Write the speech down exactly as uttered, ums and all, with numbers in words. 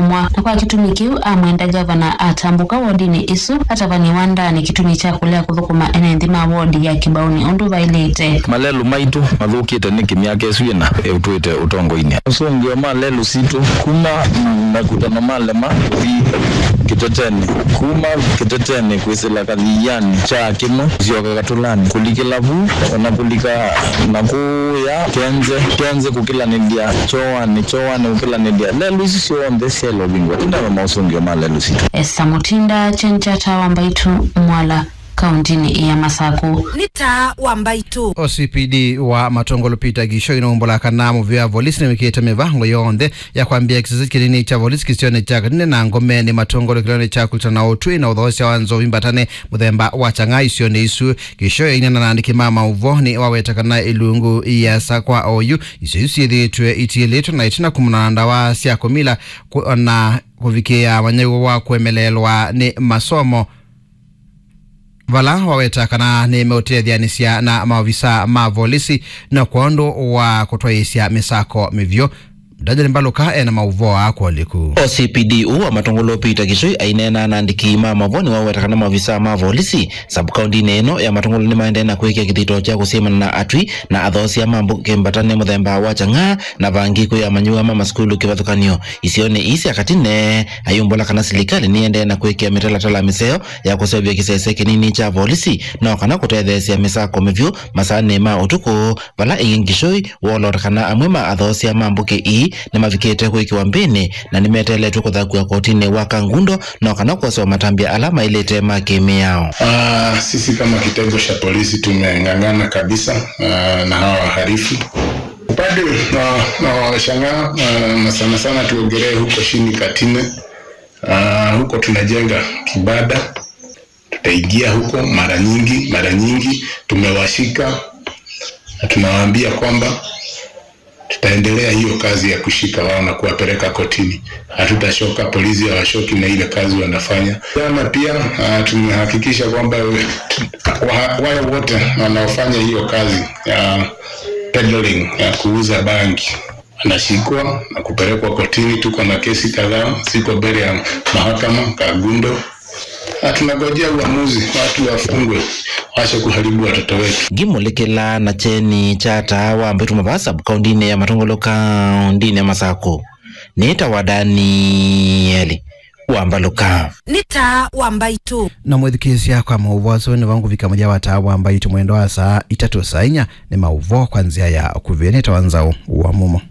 Mwa. Na kwa kĩtumi kĩu amwenda ngavana atambũka wodinĩ ĩsu, atavany'e wandanĩ kĩtumi kya kũlea kũthũkũma ene nthĩ ma wodi ya Kĩbaũnĩ ũndũ vaĩlĩte. Malelũ maitũ mathũkĩte nĩkĩ myaka ĩsu ĩna ĩũtwĩte ũtongoinĩ? Masũngĩo ma lelũ sitũ kuma makutano ma Lema kũthi Kĩtetenĩ, kuma Kĩtetenĩ kwĩsĩla Kathianĩ, kya Kĩmũ, kũsyoka Katũlanĩ, kũlikĩla vu, ona kũlika na kũya Kenze, Kenze kũkĩlanĩlya Kyoanĩ, Kyoanĩ kũkĩlanĩlya. Lelũ isu syonthe syaĩle ũvingwa. Ĩndava maũsũngĩo ma lelũ sitũ. Esa Mũtinda, Chenchata wa Mbaitũ, Mwala, kauntinĩ ya Masakũ. Nĩ taa wa Mbaitũ. O C P D wa Matongolo Peter Gishoi nũmbũla kana mũvĩa volisi nĩwĩkĩte mĩvango yonthe ya kwambĩa kĩsese kĩnini kya volisi kĩsionĩ kya Katine na Ngome nĩ Matongolo kĩlonĩ kya kũlutana ũtwi na ũthoosya wa nzovi mbatane mũthemba wa chang'aa isionĩ isu. Gishoi ainena na andĩki ma maũvoo nĩ waweta kana ilungu iasa kwa oyu isio isu syĩthĩĩtwe itiĩlĩtwe na itina kumana na ndawa sya kũmila kũ-, na kũvikĩĩa manyaiwo wa kũemeleelwa nĩ masomo, vala waweta kana nĩmeũtetheanĩsya na maovisa ma volisi na kwondũ wa kũtwaĩĩsya mĩsako mĩvyũ. Daniel Mbaluka ena maũvoo aa kwoliku. O C P D ũũ wa Matongolo Peter Gishoi aineena na andĩki ma maũvoo nĩwaweta kana maovisa ma volisi sub-kauntinĩ ĩno ya Matongolo nĩmaendee na kwĩkĩa kĩthito kya kũsyĩmana na atwi na athoosia ma mbũkĩ mbatane mũthemba wa chang'aa na vangĩ kwĩ amanyĩw'a ma masukulu kĩvathũkany'o isionĩ ii sya Katine. Ayumbũla kana silikalĩ nĩendee na kwĩkĩa mĩtalatala mĩseo ya kũseũvya kĩsese kĩnini kya volisi no kana kũtetheesya mĩsako mĩvyũ masaanĩ ma ũtukũ, vala ĩngĩ Gishoi woolota kana amwe ma athoosia ma mbũkĩ ii nĩmavikĩte kwĩkĩwa mbĩnĩ na nĩmeteeletwe kũthakw'a kotinĩ wa Kangundo no kana kwosewa matambya ala maĩlĩte ma kĩ-mĩao. Ah, sisi kama kitengo cha polisi tumeng'ang'ana kabisa, ah, na hawa wahalifu. Upande wa, wa Shang'aa, ah, na sana sana tuongelee huko chini Katine. Ah, huko tunajenga kibanda. Tutaingia huko mara nyingi, mara nyingi tumewashika na tunawaambia kwamba tutaendelea hiyo kazi ya kushika wao na kuwapeleka kotini. Hatutachoka, polisi hawashoki na ile kazi wanafanya. Jana pia, ah, tumehakikisha kwamba wa-, wale wote wanaofanya hiyo kazi ya peddling, ya kuuza bangi, wanashikwa na kupelekwa kotini. Tuko na kesi kadhaa ziko mbele ya mahakama, Kangundo. Na tunangojea uamuzi, watu wafungwe, waache kuharibu watoto wetu. Ngimũlĩkĩla na kyeni kya taa wa Mbaitũ Mavaa sub-kauntinĩ ya Matongolo kauntinĩ ya Masakũ. Nĩtawa Danieli wa Mbaluka. Nĩ taa wa Mbaitũ. Na mwĩthukĩĩsya kwa maũvoo asu nĩvo ngũvika mũthya wa taa wa Mbaitũ mwendo wa saa itatũ saa inya nĩ maũvoo kwa nzĩa ya ũkuvĩ. Nĩtawa Nzaũ wa Mumo.